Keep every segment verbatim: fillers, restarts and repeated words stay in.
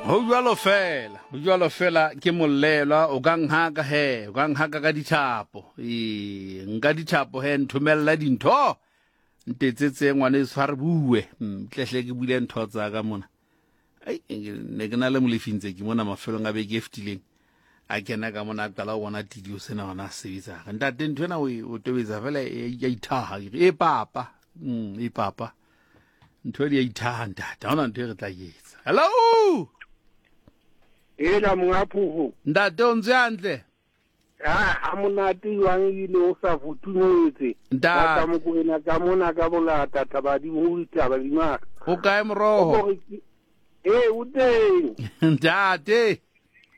Ho jwalo fela, ho jwalo fela ke mollelwa o ka nhaka he, o ka nhaka ka dithapo. Ee, nka dithapo he nthomella dintho. Ntetsetse ngwaneso ha re bue. Mm, tlehle ke buile ntho tsa ka mona. Ai, ne ke na le Molefi ntse ke mona mafelong a beke e fetileng. A kena ka mona a qala ho bona tidio sena hona se sebetsa. Ntate ntho ena o e o tobetsa fela e ya ithaha. Ke re, E papa. Mm, e papa. Ntho e ya ithaha ntate. Ha hona ntho e re tla e etsa. Hello. Ela monga phofo. Ntate o ntse hantle? Ha ha monate jwang ebile o sa futhumetse. Ntate. Ka Mokoena ka mona ka bolata thabadimo ho ditaba di matla. O kae moroho? Ee, o teng. Ntate.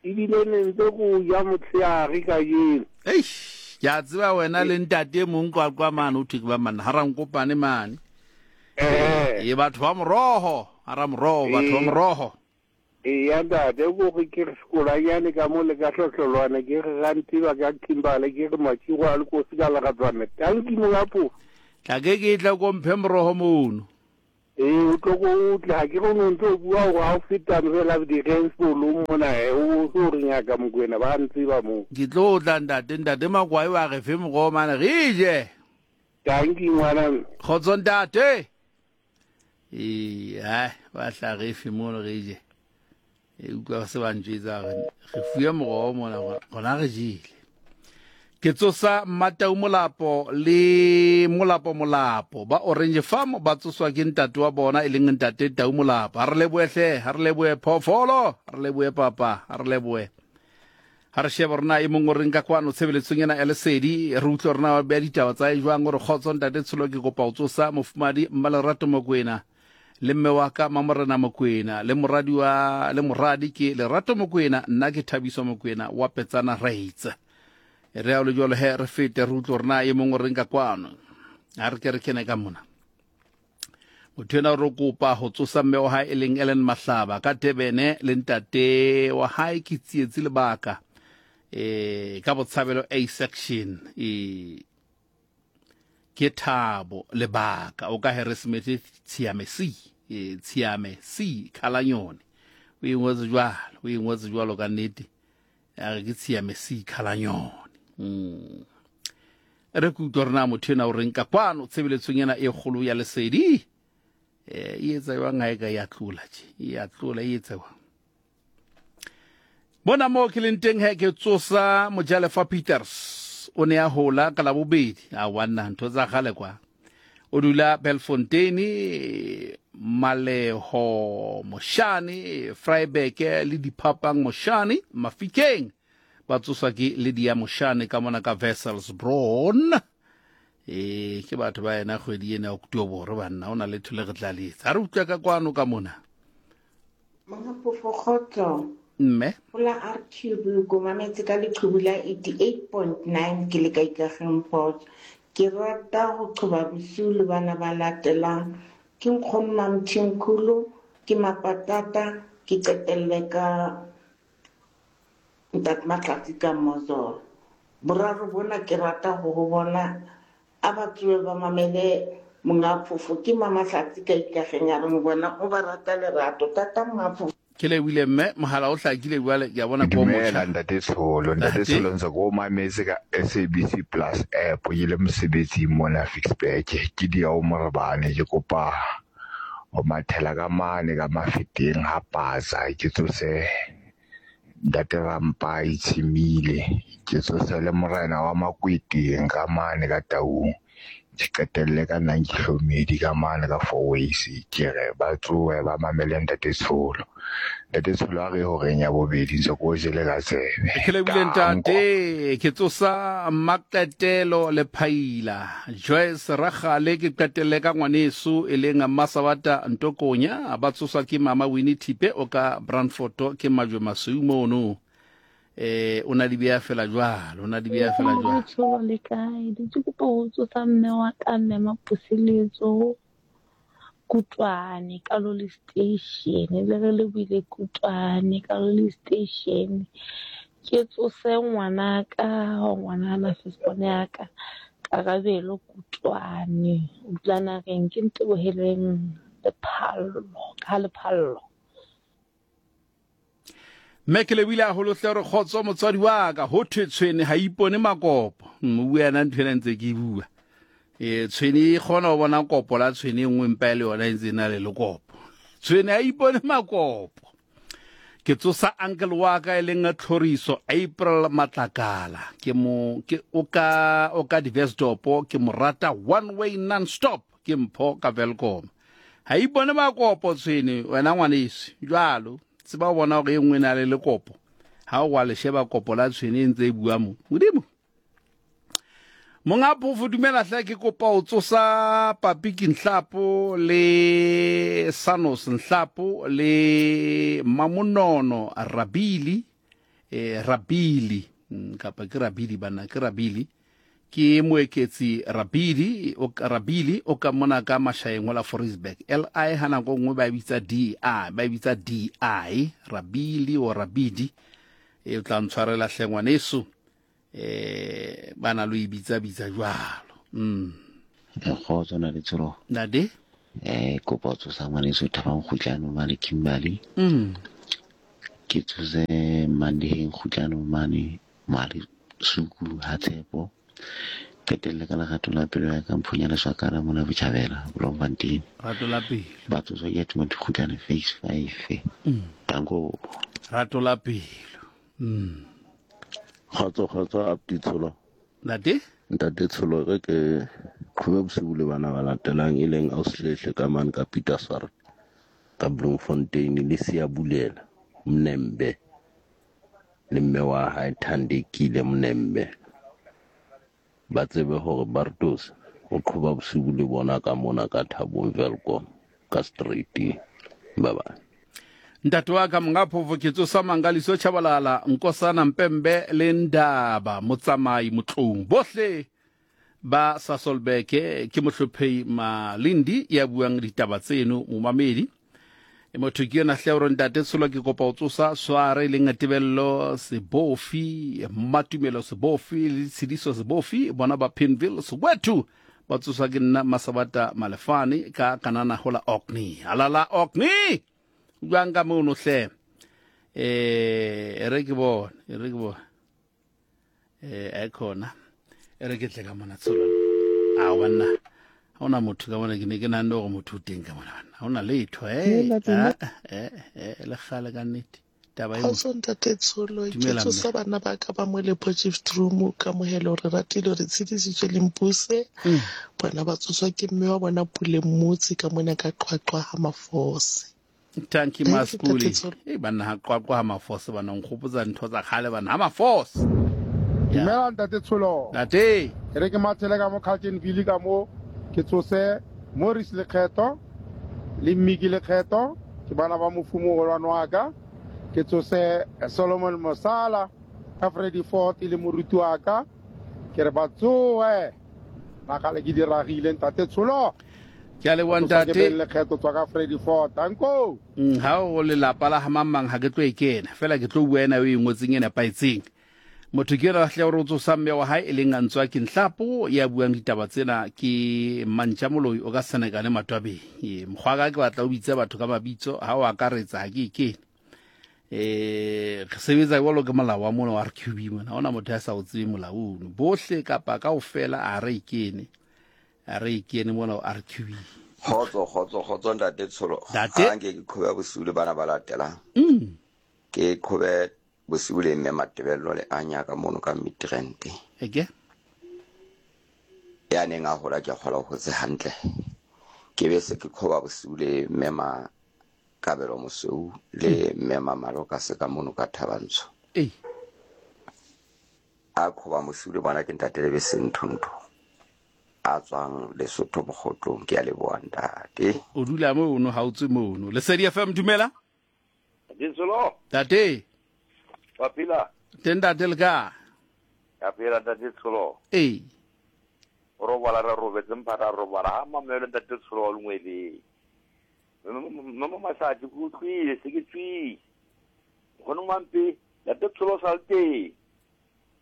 Ebile ne ntse ko ja motshehare kajeno. Eish, ke a tseba wena le ntate e mong Qwaqwa mane o thwe ke ba manna ha Rankopane mane. Eh. E batho ba moroho, ha ra moroho, batho ba Ee. moroho. Eya ntate, ko re ke re sekolanyane ka mo le ka hlohlolwana ke re Ranteba ka Kimberley ke re Matshigo a le kosi ka leratswana. Tanki monga phofo. Tla ke ke tla ko mphe moroho mono. Ee, o tlo ko o tle ha ke re o no ntso o bua hore ha o feta fela di-Rensbolong mona he, o so re ngaka Mokoena ba ntseba moo. Ke tlo tla ntate, ntate Makwai wa re fe moroho mane re je. Tanki ngwana mme. Kgotso ntate. Ee, hai, ba tla re fe mono re je. E utlwa se ba ntjwetsa hore re fuwe moroho mona rona re jele. Ke tsosa Mmatau Molapo le Molapo Molapo ba Orange Farm ba tsoswa ke ntate wa bona e leng ntate Tau Molapo. Ha re lebohe hle, ha re lebohe phoofolo, ha re lebohe papa, ha re lebohe. Ha re shebe hore na e mong o reng ka kwano tshebeletsong ena ya Lesedi, re utlwe hore na ba beha ditaba tsa hae jwang. O re kgotso ntate Tsholo, ke kopa ho tsosa mofumahadi Mmalerato Mokoena le mme wa ka Mamorena Mokoena le moradi wa le moradi ke Lerato Mokoena, nna ke Thabiso Mokoena wa Petsana Reitz. Re a le jwalo he re fete re utlwe hore na e mong o reng ka kwano. Ha re ke re kene ka mona. Motho ena o re kopa ho tsosa mme wa hae e leng Ellen Mahlaba ka Durban le ntate wa hae ke Tsietsi Lebaka eh ka Botshabelo A section e ke Thabo Lebaka o ka Harrismith Tshiame C e Tshiame C Khalanyone. O e ngotse jwalo, o e ngotse jwalo ka nnete. A re ke Tshiame C Khalanyone. Mm. Re ke utlwa hore na motho ena o reng ka kwano tshebeletsong ena e kgolo ya Lesedi. Eh, e etsa jwang ha e ka ya tlola tje? E ya tlola, e etsa jwang? Bona moo ke leng teng he ke tsosa Mojalefa Peters. O ne a hola ka Labobedi. A wanna ntho tsa kgale kwa. O dula Belfontein, Maleho Moshane, Vryburg le Diphapang Moshane, Mafikeng. Ba tsoswa ke Lydia Moshane ka mona ka Wesselsbron. E ke batho ba ena kgwedi ena ya October banna, o na le thole re tla le etsa. Ha re utlwa ka kwano ka mona. Monga Phofo, kgotso. Mme. Hola R Q B, ko mametse ka leqhubu la eighty-eight point nine ke le ka Ikageng Port. Ke rata ho qhoba bosiu le bana ba latelang. Ke nkgono Mamthimkhulu, ke Mapatata, ke qetelle ka Ntate Mahlatsi ka Mozolo. Boraro bona ke rata ho ho bona a ba tsohe ba mamele monga Phofo. Ke Mamahlatsi ka Ikageng a reng bona o ba rata lerato. Tata monga Phofo. Ke lebohile mme, mohala o hlakile jwale, ke a bona ko Dumela, motjha. Ntate Tsholo. Ntate Ntate. Tsholo, ntse ke o mametse ka S A B C Plus app, ke le mosebetsing mona Ficksburg. Ke dia o Morebane, ke kopa ho mathela ka mane ka Mafeteng ha Patsa, ke tsose Ntate Rampai Tshimile, ke tsose le morena wa Makweteng ka mane ka Taung. Ke qetelle ka nna ke hlomedi ka mane ka Four Ways, ke re ba tsohe ba mamele Ntate Tsholo. Ntate Tsholo a re horeng ya bobedi ntse ko jele ka tsebe. Ke lebohile Danko. ntate, ke tsosa Maqetelo le Phaila. Joyce Ragale ke qetelle ka ngwaneso e leng Masabata Ntokonya, ba tsoswa ke Mama Winnie Thipe o ka Brandfort ke Majwe Masweu mono. Eh, o na di beha fela jwalo, o na di beha fela jwalo. Tsholo le kae? Ke kopa ho tsosa mme wa ka, mme Mapuseletso Kutwane ka Loli Station. Le re le buile Kutwane ka Loli Station. Ke tsose ngwanaka, ngwanana firstborn ya ka, Karabelo Kutwane. O dula naheng, ke Nteboheleng Lephallo, ka Lephallo. Mme ke lebile haholo hle re kgotso motswadi wa ka ho thwe tshwene ha ipone makopo. O bua yena ntho ena ntse ke e bua. E tshwene e kgona ho bona kopo la tshwene e nngwe mpa e le yona e ntse e na le lekopo. Tshwene ha ipone makopo. Ke tsosa uncle wa ka e leng Tlhoriso April Matlakala. Ke mo ke o ka o ka Diversdorp, ke mo rata one way non stop, ke mpho ka Welkom. Ha ipone makopo tshwene wena ngwaneso. Jwalo tseba o bona hore e nngwe e na le lekopo. Ha o wa le sheba kopo la tshwene e ntse e bua mo. Modimo. Monga phofo dumela hle, ke kopa o tsosa Papiki Nhlapo le Sanos Nhlapo le Mamonono Rabili, eh, Rabili kapa ke Rabili bana, ke Rabili, ke Moeketsi Rabili, o Rabili o ka mona ka Mashaeng la Forisburg. L I ha nako nngwe ba bitsa D I, ba bitsa D I, Rabili o Rabidi. E tla ntshwarela hle ngwaneso. Eh bana lo ibitsa bitsa jwalo. Mm. Kgotso na le tsholo. Nade? Eh kopa tsosa ngwaneso Thabang Kgutlano mane Kimberley. Mm. Ke tsose Mandiheng Kgutlano mane Mali Suku ha Tshepo. Qetelle ka lerato la pelo ya ka Mphunya Leswakana mona Botjhabela Bloemfontein. Rato la pelo. Ba tsoswa ke Timothy Kgutlano phase five. Mm. Danko. Rato la pelo. Mm. Kgotso kgotso apti tsholo. Ntate? Ntate Tsholo re ke qhobe bosiu le bana ba latelang e leng Auslehle ka mane ka Petersburg ka Bloemfontein le Siyabulela Mnembe le mme wa hae Thandekile Mnembe. Ba tsebe hore Bartos o qhoba bosiu le bona ka mona ka Thabong Welkom ka street. Bye bye. Ntate wa ka monga phofo ke tsosa Mangaliso Chabalala Nkosana Mpembe le Ndaba Motsamai Motlong bohle ba Sasolburg. Ke mohlophei Malindi ya buang ditaba tseno momamedi. E motho ke yona hle hore ntate Tsholo ke kopa o tsosa Sware le Ngatebello Sebofi Matumelo Sebofi le Tshidiso Sebofi bona ba Pinville Soweto ba tsoswa ke nna Masabata Malefane ka kanana hola Orkney. Alala Orkney. Jwang ka mono hle. Eh re ke bone, re ke bone. Eh e khona. E re ke tle ka mona Tsholo. A banna. Ha ona motho ka mona ke ne ke nahane hore motho o teng ka mona banna. Ha ona letho eh eh eh le kgale ka nnete. Taba e Kgotso ntate Tsholo, ke tsosa bana ba ka ba mo le Potchefstroom ka mohelo re ratile re tshedisitswe le Mpuse. Bona ba tsoswa ke mme wa bona Pule Mmotsi ka mona ka Qwaqwa ha Mafose. Thank you Maspuli. Eh banna ha Qwaqwa ha Mafose bana nkgopotsa ntho tsa kgale bana ha Mafose. Dumela ntate Tsholo. Ntate. Re ke mathele ka mo Carltonville ka mo ke tsose Morris Lekgetho le Mmiki Lekgetho ke bana ba mofumo golwane wa ka. Ke tsose Solomon Mosala ka Freddy Ford le moruti wa ka. Ke re ba tsoe. Na kgale ke di ragile ntate Tsholo. Ke a leboha ntate. Lekgetho tswa ka Freddy Ford. Danko. Ha o lelapa la ha mang ha ke tlo e kena. Fela ke tlo bua ena o e ngotseng e nepahetseng. Motho ke yena hle hore o tsosa mme wa hae e leng Antswa ke Nhlapo ya buang ditaba tsena ke Mantja Moloi o ka Senekane Matwabeng. E mokgwa ka ke batla o bitse batho ka mabitso ha o akaretsa ha ke e kene. Eh re sebetsa jwalo ke molao wa mona wa R Q B mona. Ha hona motho ya sa o tsebe molao ono. Bohle kapa kaofela a re e kene. A re e kene mona wa R Q B. Kgotso kgotso kgotso ntate Tsholo. Ntate. Ha nke ke qhobe bosiu le bana ba latelang. Mm. Ke qhobe bosiu le mme Matebello le Anya ka mono ka Midrand. Eke? Ya neng a hola ke kgola ho hotse hantle. Ke be se ke qhoba bosiu le mme ma Kabelo Mosweu le mme Mamalo ka se ka mono ka Thabantsho. Eh. A qhoba bosiu le bona ke ntate le bese nthontho. A tswang Lesotho Mokgotlong, ke a leboha ntate. O dula mono ha o tswe mono. Lesedi F M dumela. Ditsholo. Ntate. Wa phela? Teng ntate le ka? Ya phela ntate Tsholo. Eh. O robala re robetse mphara robala ha mamelo ntate Tsholo wa lengwele. Mama Masadi ke utlwile se ke tswile. Nkgono Mampe ntate Tsholo sa le teng.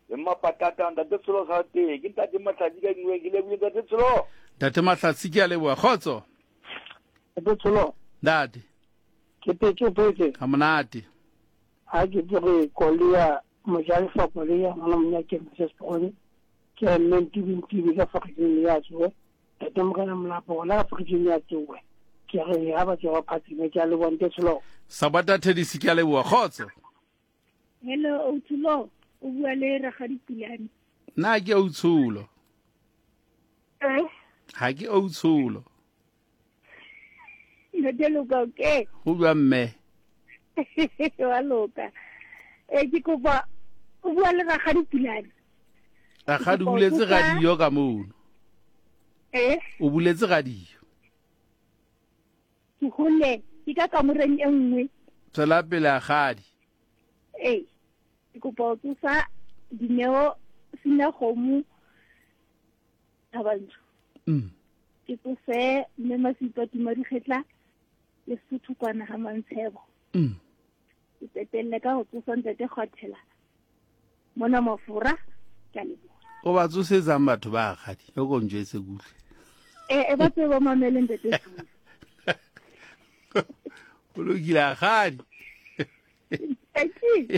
Le Mmapatata ntate Tsholo sa le teng. Ke ntate Mahlatsi ka nngwe ke lebohile ntate Tsholo. Ntate Mahlatsi ke a leboha. Kgotso. Ntate Tsholo. Ntate. Ke phetse, o phetse. Ha monate. Ha ke tsoge Kolia mojalefa Kolia ngwana monyake Moses Pogone ke re mme Ntibi Ntibi ka Fagijeng ya tsoe tate Morena Molapo gona ka Fagijeng ya tsoe ke re ha ba tsoga phatsime ke a leboha ntate Tsholo. Sabata Thedisi ke a leboha kgotso. Hello Outsholo, o bua le Rakgadi Pulane. Nna ke Outsholo. Eh? Ha ke Outsholo. Ntate Loka okay? Go bua mme. Wa loka. Eh ke kopa o bua le Rakgadi Pulane. Rakgadi o buletse radio ka mono. Eh? O buletse radio. Ke hole, ke ka kamoreng e nngwe. Tswela pele Rakgadi. Eh. Ke kopa o tsosa Dineo sina kgomo Thabantsho. Mm. Ke tsose mme Masipa Tima Dikgetla le Sotho kwana ha Mantshebo. Mm. Ke qetelle ka ho tsosa ntate Kgwathela mona Mafura ke a leboha. O ba tsosetsang batho ba Rakgadi o ko njwetse kuhle. Eh e ba tsebe ba mamele ntate Tsholo. O lokile Rakgadi. Thank you.